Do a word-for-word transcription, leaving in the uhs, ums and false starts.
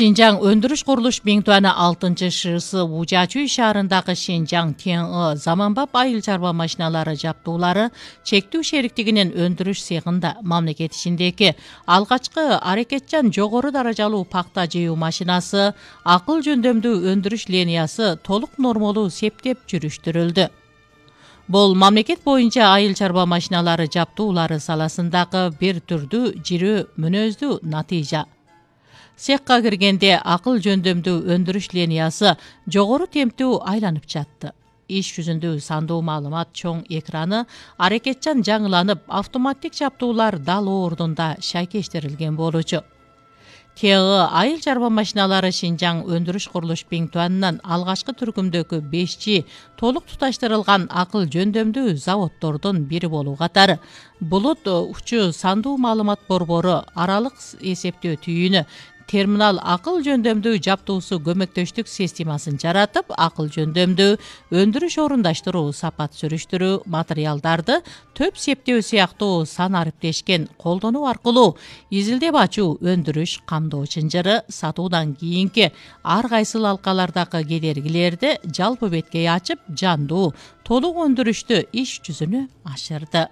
Шинжаң өндүрүш курулуш Биңтуаны алтынчы ШС Ужачуй шаарындагы Шинжаң Тен-ы заманбап айыл чарба машиналары жаптуулары чектүү шериктигинин өндүрүш цехинда мамлекет ичиндеги алгачкы аракетчан жогору даражалуу пакта жыюу машинасы, акыл жөндөмдүү өндүрүш линиясы толук нормалуу септеп жүрүштүрүлдү. Бул мамлекет боюнча айыл чарба машиналары жаптуулары саласындагы бир түрдүү жирөө мүнөздүү натыйжа. Цехка киргенде акыл жөндөмдүү өндүрүш линиясы жогору темптүү айланып жатты. Иш жүзүндө сандуу маалымат чоң экраны аракетчан жаңыланып, автоматтик жаптуулар дал ордунда шайкештирилген болчу. Тен-ы айыл чарба машиналары Шинжаң өндүрүш курулуш Биңтуанынан алгачкы түркүмдөгү бешчи толук туташтырылган акыл жөндөмдүү заводдордун бири болуу катары булут учу сандуу маалымат борбору аралык эсептөө түйүнү терминал акыл жөндөмдүү жаптуусу көмөктөштүк системасын жаратып, акыл жөндөмдүү өндүрүш орундаштыруу, сапат сүрүштүрүү, материалдарды төп септөө сыяктуу сан ариптешкен колдонуу аркылуу изилдеп ачуу, өндүрүш, камдоо чынжыры, сатуудан кийинки ар кайсыл алкалардагы кедергилерди жалпы беткей ачып, жандуу, толук өндүрүштү иш жүзүнө ашырды.